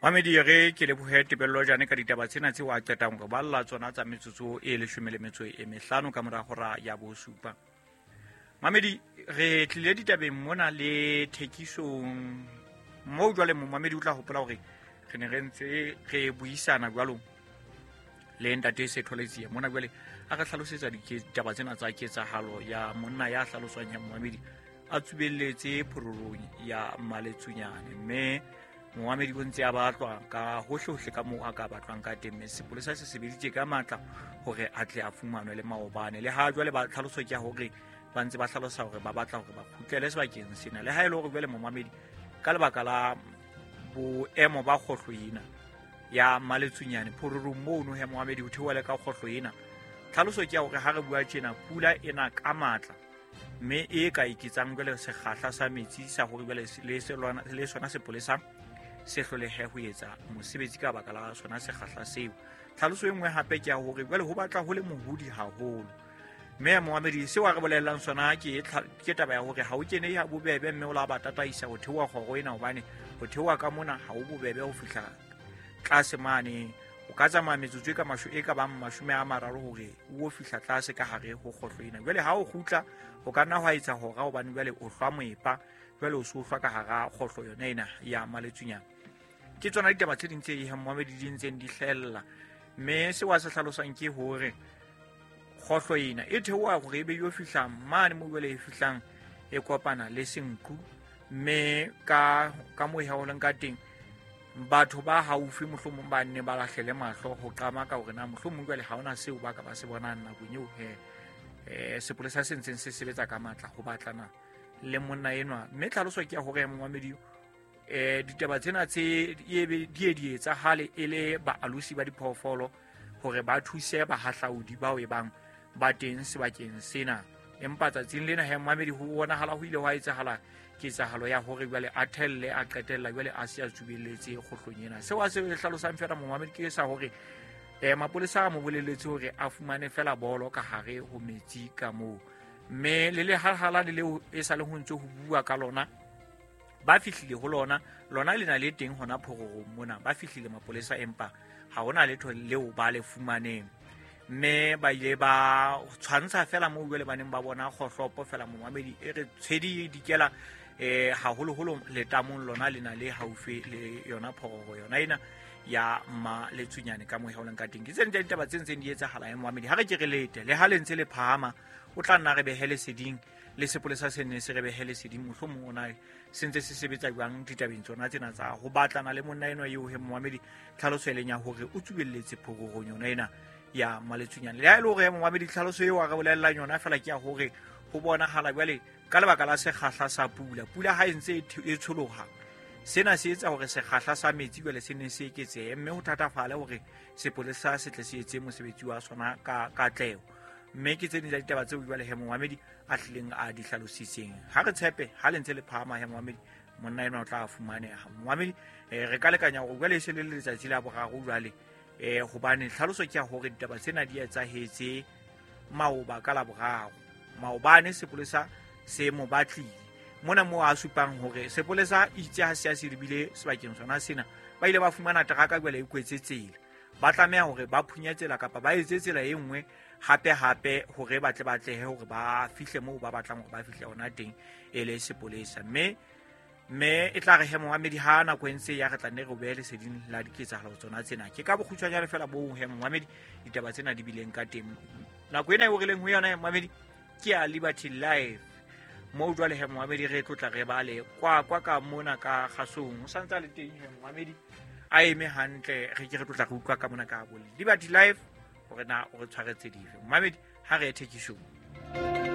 Mamedi, re ke lebohe Tebello Jane ka ditaba tsena tseo a qetang re balla tsona tsa metsotso e 15 ka mora hora ya 7. Mamedi, re tlile ditabeng mona le thekisong moo jwale momamedi o tla hopola hore re ne re ntse re buisana jwalo le ntate Setholetsie mona. Jwale a re hlalosetsa ditaba tsena tsa ketsahalo ya monna ya hlaloswang ya momamedi a tsubelletse phororong ya Maletsunyane, mme momamedi o ntse a batlwa ka hohlehohle ka moo a ka batlwang ka teng, mme sepolesa se sebeditse ka matla hore a tle a fumanwe le maobane. Le ha jwale ba tlhaloso ke ya hore ba ntse ba hlalosa hore ba batla hore ba kgutlele sebakeng sena, le ha e le hore jwale momamedi ka lebaka la boemo ba kgohlo ena ya Maletsunyane phororong mono he momamedi ho theoha le ka kgohlo ena, tlhaloso ke ya hore ha re bua tjena pula ena ka matla, mme e ka eketsang jwale sekgahla sa metsi sa hore jwale le sona sepolesa se hlolehe ho etsa mosebetsi ka baka la sona sekgahla seo. Tlhaloso e nngwe hape ke ya hore jwale ho batla ho le mohodi haholo, mme momamedi seo a re bolellang sona ke taba ya hore ha o kene ha bobebe, mme o la ba tataisa ho theoha kgoro ena, hobane ho theoha ka mona ha o bobebe ho fihla tlase mane. O ka tsamaya metsotso e ka bang 30 hore o fihla tlase ka hare ho kgohlo ena. Jwale ha o kgutla o ka nna hwa etsa hora, hobane jwale o hlwa moepa, jwale o se o hlwa ka hara kgohlo yona ena ya Maletsunyane. Ke tsona ditaba tse ding tse momamedi di ntseng di hlahella, mme seo a se hlalosang ke hore kgohlo ena e theoha hore e be yo fihlang mane moo jwale e fihlang e kopana le Senqu, mme ka moo e haolang ka teng batho ba haufi mohlomong ba nne ba lahlele mahlo ho qama ka hore na mohlomong jwale ha hona seo ba ka ba se bonang nakong eo he sepolesa se ntseng se sebetsa ka matla ho batlana le monna enwa. Mme tlhaloso ke ya hore momamedi ditaba tsena tse di di etsahale e le baalosi ba diphoofolo hore ba thuse bahahlaudi bao e bang ba teng sebakeng sena. Empa tsatsing lena he momamedi ho bonahala ho ile hwa etsahala ketsahalo ya hore jwale a thelle a qetella jwale a se a tsubelletse kgohlong ena. Seo a se hlalosang fela momamedi ke sa hore mapolesa a mo bolelletse hore a fumane fela bolo ka hare ho metsi ka moo, mme le lehalhala le leo e sa le ho ntse ho bua ka lona ba fihlile ho lona, lona le na le teng hona phororong mona, ba fihlile mapolesa empa ha hona letho leo ba le fumaneng, mme ba ile ba tshwantsha fela moo jwale ba neng ba bona kgohlopo fela momamedi e re tshwedi dikela haholoholo letamong lona le na le haufi le yona phororo yona ena ya Maletsunyane ka moo e leng ka teng. Ke tse ding tsa ditaba tse ntseng di etsahala momamedi, ha re ke re lete le ha le ntse le phahama o tla nna re behe leseding le sepolesa se nne se re behe leseding, mohlomong o na se ntse se sebetsa jwang ditabeng tsona tsena tsa ho batlana le monna enwa eo he momamedi tlhaloso e leng ya hore o tsubelletse phororong yona ena ya Maletsunyane. Le ha e le hore momamedi tlhaloso eo a re bolellang yona fela ke ya hore ho bonahala jwale ka lebaka la sekgahla sa pula, pula ha e ntse e tsholoha, sena se etsa hore sekgahla sa metsi jwale se ne se eketsehe, mme ho thatafale hore sepolesa se tle se etse mosebetsi wa sona ka katleho. Mme ke tse ding tsa ditaba tseo jwale he momamedi a tlileng a di hlalositseng. Ha re tshepe ha le ntse le phahama he momamedi monna enwa o tla fumaneha. Momamedi re ka lekanya hore jwale e se le letsatsi la boraro jwale, hobane tlhaloso ke ya hore ditaba tsena di etsahetse maoba ka la boraro. Maobane sepolesa se mo batlile mona moo a supang hore sepolesa itse ha se a se lebile sebakeng sona sena, ba ile ba fumana teraka jwale e kwetse tsela, ba tlameha hore ba phunye tsela kapa ba etse tsela e nngwe hape hape hore ba tle ba tlehe hore ba fihle moo ba batlang hore ba fihle hona teng e le sepolesa. Mme e tla re he momamedi ha nako e ntse ya re tla nne re behe leseding la diketsahalo tsona tsena. Ke ka bokgutshwanyane fela boo he momamedi ditaba tsena di bileng ka teng. Nako ena eo re leng ho yona he momamedi ke ya Liberty Live, moo jwale he momamedi re tlotla re bale kwa kwa ka mona ka kgasong, o santse a le teng he momamedi a eme hantle, re ke re tlotla re utlwa ka mona ka bo Liberty Live hore na o re tshwaretse dife. Momamedi ha re ye thekisong.